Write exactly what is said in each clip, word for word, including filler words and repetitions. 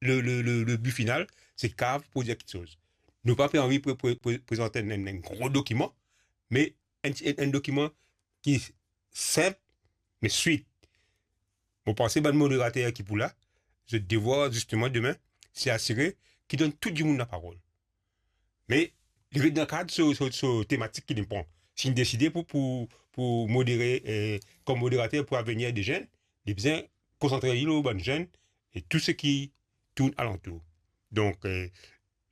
le, le, le, le bi final, se kapav prodwir kiksoz. Nou pa pe anvi pre-, pre-, pre-, prezant enn, enn, enn gro dokiman, me enn, enn, enn dokiman ki sinp, me swit. Mo panse bann moderater ki pou la, zot devwar zisteman demin, se asire ki donn tou dimoun laparol. Me li ret dan kad so, so, so tematik ki li pran. Si li deside pou, pou, pou modere, eh, kom moderater pou lavenir de zenn, li bizin konsantre li lor bann zenn e tou seki tourn alantour. Donk, eh,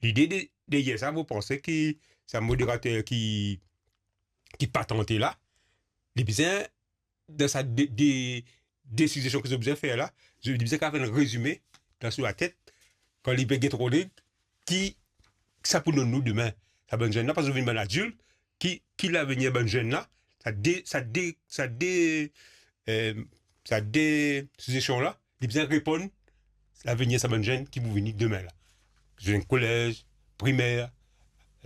lide de, deryer sa, mo panse ki sa moderater ki, ki patante la, li bizin dan sa de, de, de sizesion ki zot bizin fer la, zot bizin kapav fer enn rezime dan so latet, kan li pe get Rodrig, ki sa pou donn nou demin, sa bann zenn la, parski zot vinn bann adilt, ki, ki lavenir bann zenn la, sa de, sa de, sa de, eh, sa de sizesion la, li bizin reponn lavenir sa bann zenn ki pou vini demin la. Zenn kolez, primer,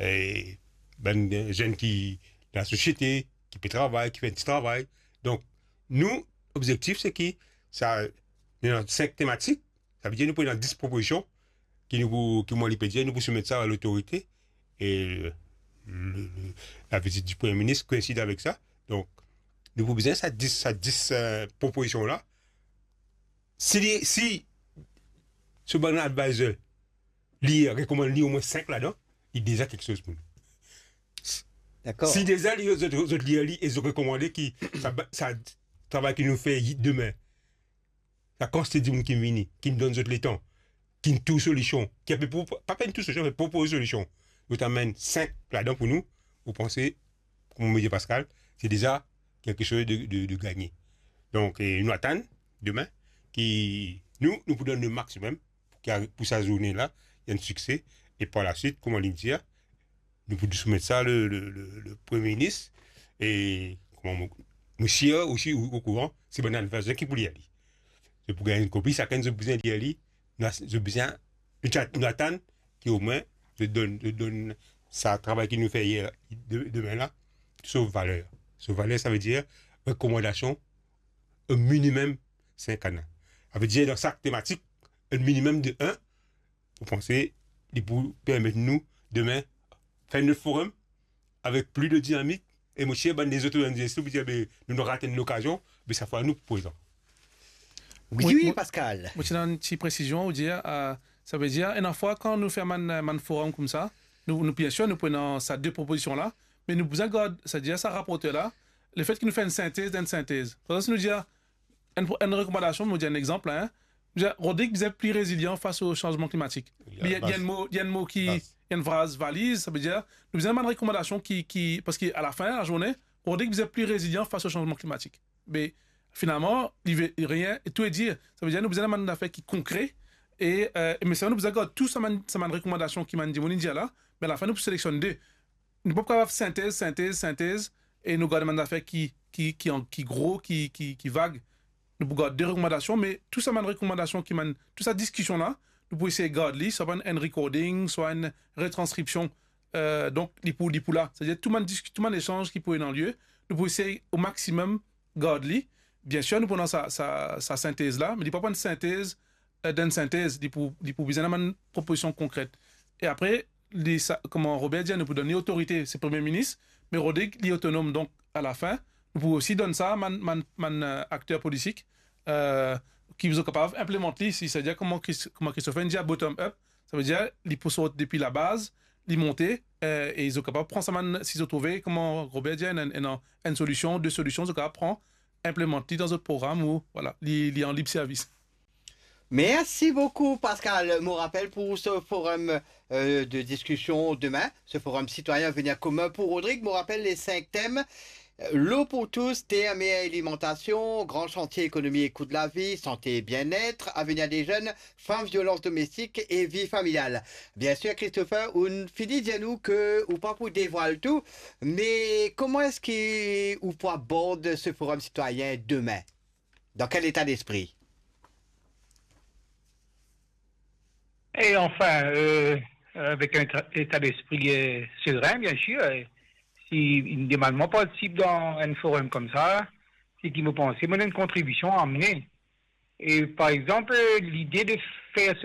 e bann zenn ki dan lasosiete, ki pe travay, ki fer enn ti travay. Donk, nou, lobzektif, se ki sa, nou ena sink tematik, savedir nou pou ena dis propozision, ki nou pou, ki mwa li pe dir, nou pou soumet sa a lotorite, e le, le, le, lavizit di Premie Minis koinsid avek sa. Donk, nou pou bizin sa dis, sa dis, eh, propozision la. Si li, si so bann advisor li rekomann li omwin sink ladan, li deza kiksoz pou nou. Dakor. Si deza li, zot, zot lir li e zot rekomande ki sa ba-, sa travay ki nou fer demin, sa kantite dimoun ki vini, ki donn zot letan, ki trouv solision, ki ape pou, pa pe trouv solision, me propoz solision, zot amenn sink ladan pou nou, mo panse, kouma mo dir Pascal, se deza kiksoz de, de, de gagne. Donk, eh, nou atann demin ki nou, nou pou donn le maximum pou ki, pou sa zourne la, li enn sikse, e par laswit, kouma li dir, nou pou soumet sa le, le, le, le Premie Minis, e kouma mo, mo sir osi ou, okouran, se bann advisor ki pou lir li. Zot pou gagn enn kopi, sakenn zot bizin lir li, nou a-, zot bizin, nou ti a-, nou atann ki omwin zot donn, zot donn sa travay ki nou fer yer, de, demin la, so valer. So valer, savedir rekomandasion, enn minimem sink ana. Savedir dan sak tematik, enn minimem de enn, mo panse li pou permet nou demin fer enn lot forum avek plis de dinamik, e mo sir bann lezot organizasion pou dir, be, nou, nou rat enn lokazion, be sa fwa nou pou prezan. Wi, wi, Pascal. Mo ti ena enn ti presizion, ou dir, eh, savedir, ena fwa kan nou fer bann, bann forum koumsa, nou, nou, biensir, nou pou ena sa de propozision la, me nou bizin gard, savedir sa raporter la, lefet ki nou fer enn sintez dan enn sintez. Par exanp, si nou dir, enn, enn rekomandasion, mo dir enn exanp la, hein. Mo dir, Rodrig bizin pli rezilyan fas o sanzman klimatik. Li, li enn mo, li enn mo ki, enn fraz valiz, savedir, nou bizin bann rekomandasion ki, ki, parski alafin lazourne, Rodrig bizin pli rezilyan fas o sanzman klimatik. Me finalman, li ve rien, tou e dir. Savedir, nou bizin bann zafer ki konkre, e, eh, me sa, nou bizin gard tou sa bann, sa bann rekomandasion ki bann dimoun inn dir la, me alafin, nou pou seleksionn de. Nou pa pou kapav sintez, sintez, sintez, e nou gard bann zafer ki, ki, ki an, ki gro, ki, ki, ki vag. Nou pou gard de rekomandasion, me tou sa bann rekomandasion ki bann, tou sa diskision la, nou pou esey gard li, swa bann enn recording, swa enn retranskripsion. Eh, donk, li pou, li pou la. Savedir tou bann disk-, tou bann lesanz ki pou ena lie, nou pou esey o maximum gard li. Biensir, nou pou ena sa, sa, sa sintez la, me li pa pou enn sintez, eh, dan enn sintez, li pou, li pou bizin ena bann propozision konkret. E apre, li sa, kouma Robert dir, nou pou donn li otorite, se Premie Minis, me Rodrig, li otonom. Donk, alafin, nou pou osi donn sa bann, bann, bann, eh, akter politik, eh, ki pou kapav inplimant li, si, savedir kouma Chris-, kouma Christopher inn dir, bottom up, savedir li pou sort depi labaz, li monte, eh, e zot kapav pran sa bann, si zot trouve, kouma Robert dir, enn, enn, enn, enn solision, de solision, zot kapav pran, inplimant li dan zot program ou, vwala, li, li an lib servis. Merci beaucoup, Pascal. Mo rapel pou se forum, euh, de discussion demain, ce forum citoyen Avenir commun pour Rodrigue. Mo rapel les cinq thèmes. L'eau pour tous, terre, mer, alimentation, grand chantier, économie et coût de la vie, santé et bien-être, avenir des jeunes, femmes, violence domestique et vie familiale. Bien sûr, Christopher, ou fini dir nou ke ou pa pou devwal tou, me kouma eski ou pou abord ce forum citoyen demain? Dans quel état d'esprit? Et enfin, euh, avec un tra-, état d'esprit, euh, serein, bien sûr. Et si une demande participe dans un forum comme ça, c'est qu'il me pense, mon une contribution à amener. Et par exemple, l'idée de faire ce